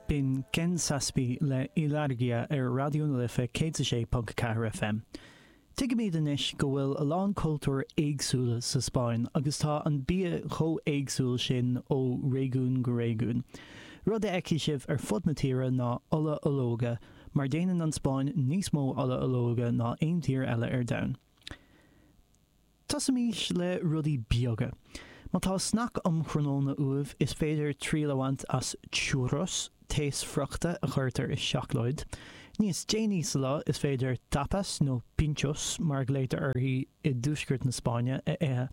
B'in Ken Zazpi le Ilargia ar Raidió na Life 106.4 FM. Tuigimid anois go bhfuil a lán cultúir éagsúla sa Spáinn agus tá an bia chomh éagsúil sin ó réigiún go réigiún. Rud a fheicfidh sibh ar fud na tíre ná ola ológa, mar déanann an Spáinn níos mó ola ológa ná aon tír eile ar domhan. Tosaímis le rudaí beaga. Má tá snack um thráthnóna uaibh, is féidir triail a bhaint as churros, taos friochta a chuirtear i seacláid. Níos déanaí sa lá, is féidir tapas nó pinchos, mar a ghlaotar uirthi i dtuaisceart na Spáinne, a ithe.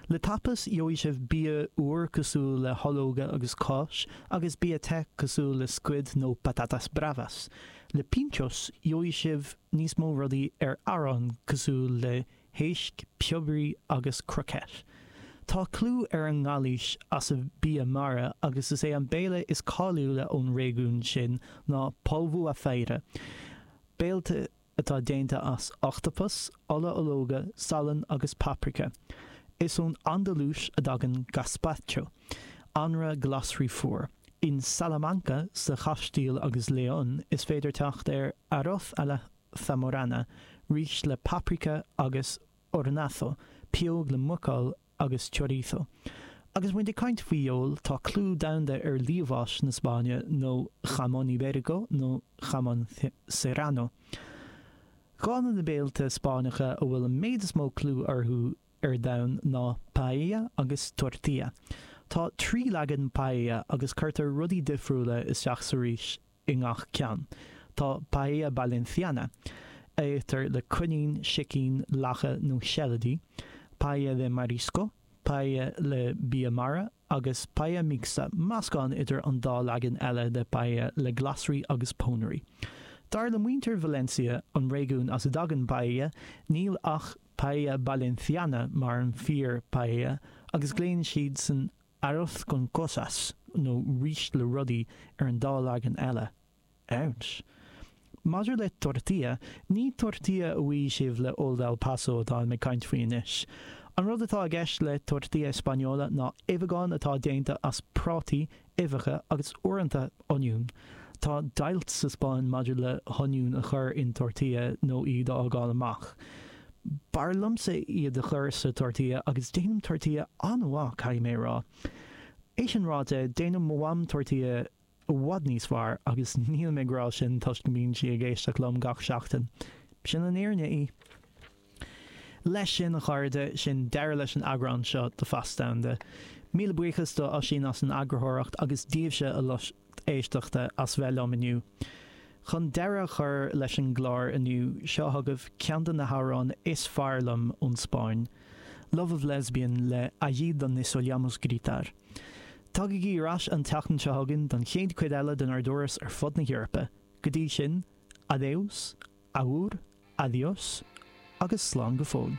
Le tapas, gheobhaidh sibh bia úr cosúil le hológa agus cáis, agus bia te cosúil le scuid nó patatas bravas. Le pinchos, gheobhaidh sibh níos mó rudaí ar arán cosúil le héisc, piobairí agus croquette. Tá clú ar an nGailís as a bia mara agus is é an béile is cáiliúla ón réigiún sin ná polvo á feira, béilte atá déanta as ochtapas, ola ológa, salann agus paprika. Is ón Andalúis a dtagann gazpacho, anraith glasraí fuar. In Salamanca, sa Chaistíl agus León, is féidir teacht ar arroz a la zamorana, rís le paprika agus hornado, pióg le muiceoil agus chorizo. Agus muid ag caint faoi fheoil, tá clú domhanda ar liamhás na Spáinne nó jamón ibérico nó jamón serrano. Dhá de na béilte Spáinneacha a bhfuil an méid is mó clú orthu ar domhan ná paella agus tortilla. Tá 3 leagan paella agus cuirtear rudaí difriúla isteach sa rís i ngach ceann. Tá paella Valenciana, a itear le coinín, sicín, lacha nó seilidí, paella de marisco, paella le bia mara, agus paella mixta, meascán idir an dá leagan eile de paella le glasraí agus pónairí. Dar le muintir Valencia, an réigiún as a dtagann paella, níl ach paella Valenciana mar an fíor paella agus glaonn siadsan Arroz con cosas, nó rís le rudaí, ar an dá leagan eile. Ouch. Maidir le tortilla, ní tortilla a bhfaighidh sibh le Old El Paso atáim ag caint faoi anois. An rud atá i gceist le tortilla española ná uibheagán atá déanta as prátaí, uibheacha agus uaireanta oinniún. Tá deighilt sa Spáinn maidir le hoinniúin a chur in tortilla nó iad a fhágáil amach. B'fhearr liomsa iad a chur sa tortilla agus déanaim tortilla an-mhaith, caithfidh mé a rá. É sin ráite, déanann mo mham tortilla i bhfad níos fearr agus nílim ag rá sin toisc go mbíonn sí ag éisteacht liom gach seachtain. Sin an fhírinne í. Leis sin, a chairde, sin deireadh leis an eagrán seo de Phas Domhanda. Míle buíochas do Oisín as an eagarthóireacht agus daoibhse, a lucht éisteachta, as bheith liom inniu. Chun deireadh a chur leis an gclár inniu, seo chugaibh ceann de na hamhráin is fearr liom ón Spáinn, Love of Lesbian le Allí Donde Solíamos Gritar. Tagaigí ar ais an tseachtain seo chugainn don chéad chuid eile denár dturas ar fud na hEorpa. Go dtí sin, adeus, agur, Adiós agus slán go fóill.